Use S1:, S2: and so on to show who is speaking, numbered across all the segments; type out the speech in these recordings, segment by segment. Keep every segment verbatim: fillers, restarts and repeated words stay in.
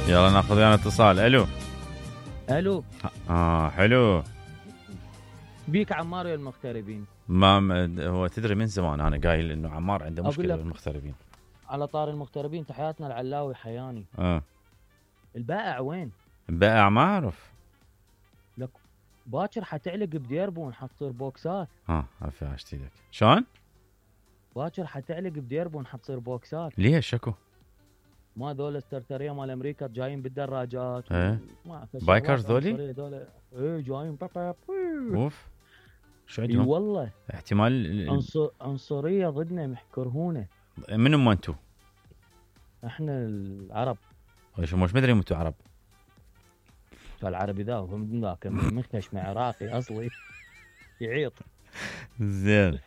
S1: يلا ناخذ ويانا اتصال. الو
S2: الو.
S1: اه حلو.
S2: بيك عمار يا المغتربين.
S1: ما هو تدري من زمان انا قايل انه عمار عنده مشكله
S2: لك
S1: بالمغتربين.
S2: على طار المغتربين، تحياتنا العلاوي حياني.
S1: اه
S2: البائع وين؟
S1: البائع ما اعرف.
S2: لك باكر حتعلق بديربون، حتصير بوكسات.
S1: ها عفوا اشتيلك شلون؟
S2: باكر حتعلق بديربون، حتصير بوكسات.
S1: ليش شكو؟
S2: ما ذول السرتريه مال امريكا جايين بالدراجات.
S1: ايه
S2: ما أعرف
S1: بايكرز ذولي؟
S2: ذول ايه جايين باب باب.
S1: اوف شو
S2: اي
S1: عندهم؟
S2: والله
S1: احتمال
S2: عنصر عنصريه ضدنا، محكرهونه.
S1: من هم انتو؟
S2: احنا العرب.
S1: شو مش مدري انتو عرب.
S2: العربي ذا هو من ذاك مخش مع عراقي اصلي يعيط.
S1: زين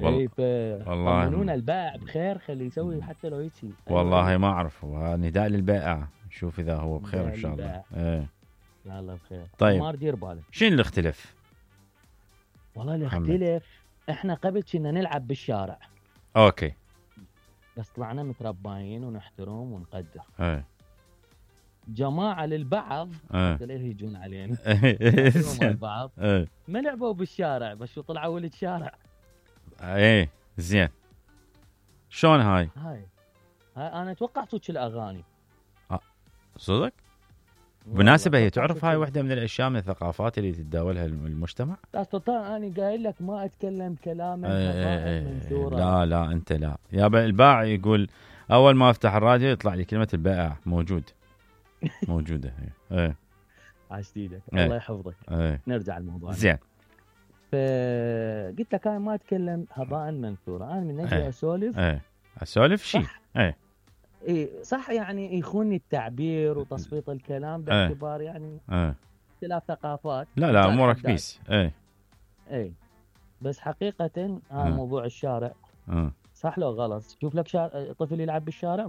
S2: اي ف
S1: والله
S2: طمنونا البائع بخير، خليه يسوي حتى لو هيك.
S1: والله ما اعرف. نداء للبائع نشوف اذا هو بخير ان شاء الله. ايه
S2: لا الله بخير.
S1: طيب
S2: ما دير بالك
S1: شنو اللي اختلف؟
S2: والله اللي اختلف احنا قبل كنا نلعب بالشارع.
S1: اوكي
S2: بس طلعنا مترباين ونحترم ونقدر.
S1: ايه
S2: جماعه للبعض
S1: ايه
S2: لا يهجون علينا
S1: ايه
S2: البعض
S1: ايه
S2: ما لعبوا بالشارع، بس شو طلعوا ولد شارع.
S1: ايه زين شلون هاي؟
S2: هاي هاي انا اتوقع صوت الاغاني.
S1: آه. صدق؟ بالمناسبة هي تعرف هاي واحدة من الأشياء من الثقافات اللي تتداولها المجتمع.
S2: لا سلطان أنا قايل لك ما أتكلم كلاما
S1: ايه
S2: منثورا.
S1: لا لا أنت لا يا البائع يقول أول ما أفتح الراديو يطلع لي كلمة البائع موجود موجودة. ايه
S2: عاشت ايدك.
S1: ايه.
S2: الله يحفظك.
S1: ايه.
S2: نرجع للموضوع
S1: زين.
S2: فقلت لك انا ما اتكلم هباء منثورا، انا من اجي
S1: ايه.
S2: اسولف.
S1: ايه اسولف شيء. ايه
S2: اي صح، يعني يخوني التعبير وتصفيط الكلام باعتبار يعني
S1: ايه.
S2: اختلاف ثقافات.
S1: لا لا امورك بيس. ايه
S2: ايه بس حقيقة هذا موضوع الشارع.
S1: اه
S2: صح لو غلط؟ شوف لك شار... طفل يلعب بالشارع